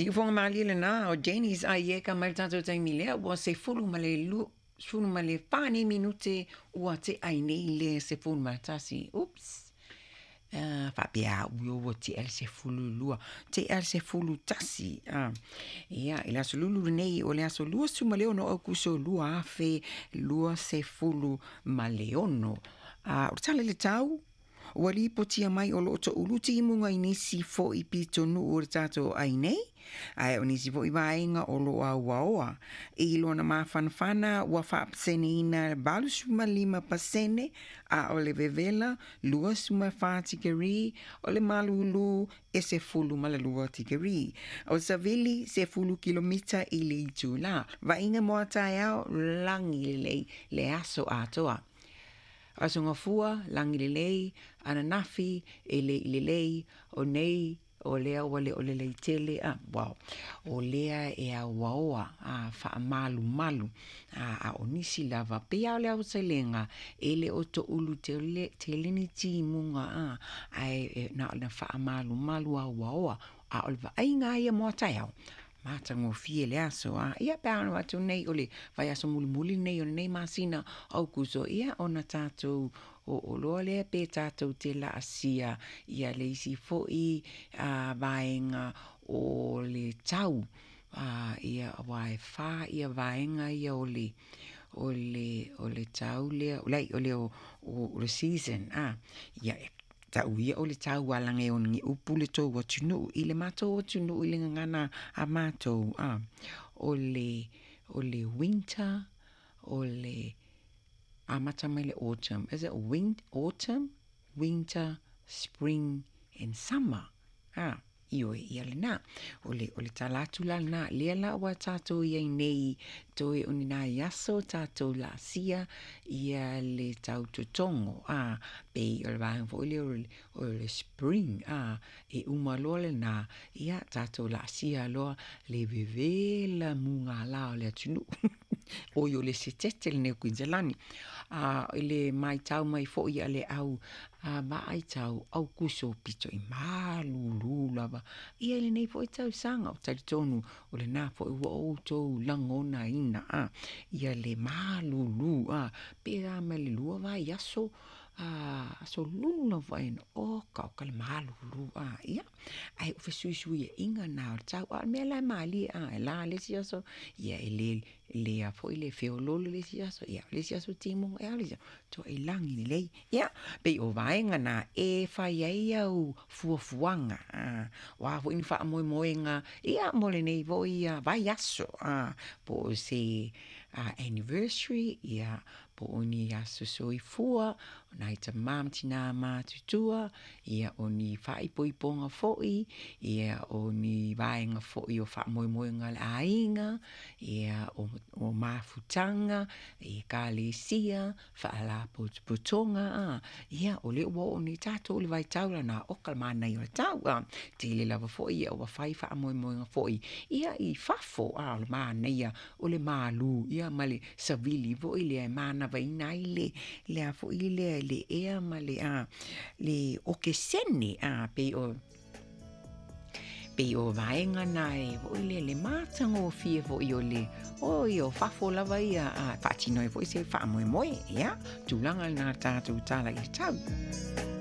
Siufoga malie lena o Janice Aieka mai le tatou taimi lea ua 12, 14 nei minute ua tea ai nei le 11. Oops. Faapea au ia ua tea le 12, tea le 11. Ia, i le aso Lulu lenei o le aso 26 o Aokuso 2026. O le tala i le tau, ua lipotia mai o lo o toulu timuga i nisi foi pitonuu o le tatou ai nei, ae o nisi foi vaega o lo o auaoa. I lona mafanafana ua faapaseneina 85%, a o le vevela 24 tikeri, o le malulu e 12 tikeri. O savili 10 kilomita i le itula. Vaaiga mo a taeao, lagi lelei le aso atoa. Aso Gafua, lagi lelei, ananafi e le i lelei, o nei o lea ua le o lelei tele, a, wow, o lea e auaoa, a, faamalumalu, a, a o nisi lava, pei lava o le aotelega, e le o toulu tele, tele ni timuga, a, ae e, na o le faamalumalu auaoa, a o le vaaiga ia mo a taeao, matagofie le aso, a, ia pe a ona atu nei o le vaiaso mulimuli nei o lenei masina Aukuso, ia ona tatou oo loa lea pe tatou te laasia ia le isi foi vaega o le tau, a, ia aua e fa ia vaega ia o le o le o le tau lea, leai o le o le season, a, ia e tau ia o le tau alaga e ono upu le tou atunuu i le matou atunuu i le gagana a matou, a, o le o le winter, o le amata mai le autumn, is it wind, autumn, winter, spring and summer, a, ioe ia lena. O le, o le tala atu la lena, lea la ua tatou i ai nei toe o ni nai aso tatou laasia ia le tau totogo, a, pei o le vaega foi lea o le, o le spring, a, e uma loa lena, ia tatou laasia loa le vevela mugala o le atunuu. Oi o le setete lenei o Kuiniselani. A, i le matau mai foi a le au vaai tau Aukuso pito i malulu lava ia i lenei foi tausaga. O talitonu o lena foi ua outou lagonaina, a, ia le malulu, a, pe a mai le lua vaiaso, a, aso Lulu lava ena, oka oka le malulu, a, ia, ae o fesuisuiaiga na o le tau. A o le mea la e malie, a, e la le isi aso, ia e le lea foi le feoloolo le isi aso, ia le isi aso timuga, ia le isi aso, toai lagi lelei. Ia, pei o vaega na e fai ai au fuafuaga, a, o a foi ni faamoemoega, ia mo lenei foi vaiaso, a, po o se anniversary, ia, po o ni aso soifua, o nai tamā ma tinā matutua, ia, o ni faaipoipoga foi, ia, o ni vaega foi o faamoemoega a le aiga, ia, o, o mafutaga, ekalesia, faalapotopotoga, a, ia, o lea ua oo nei tatou i le vaitau lena, oka le manaia o le tau, a, tele lava foi ia ua fai faamoemoega foi, ia, i fafo, a, o le manaia o le malu, ia, ma le savili foi lea e manavaina ai le, le a foi lea, le ea ma le, a, le okesene, a, pei o, pei o vaega na e foi le le matagofie foi o le oi o fafo lava ia, a, faatino ai foi se faamoemoe, ia, tulaga lena tatou tala i le tau.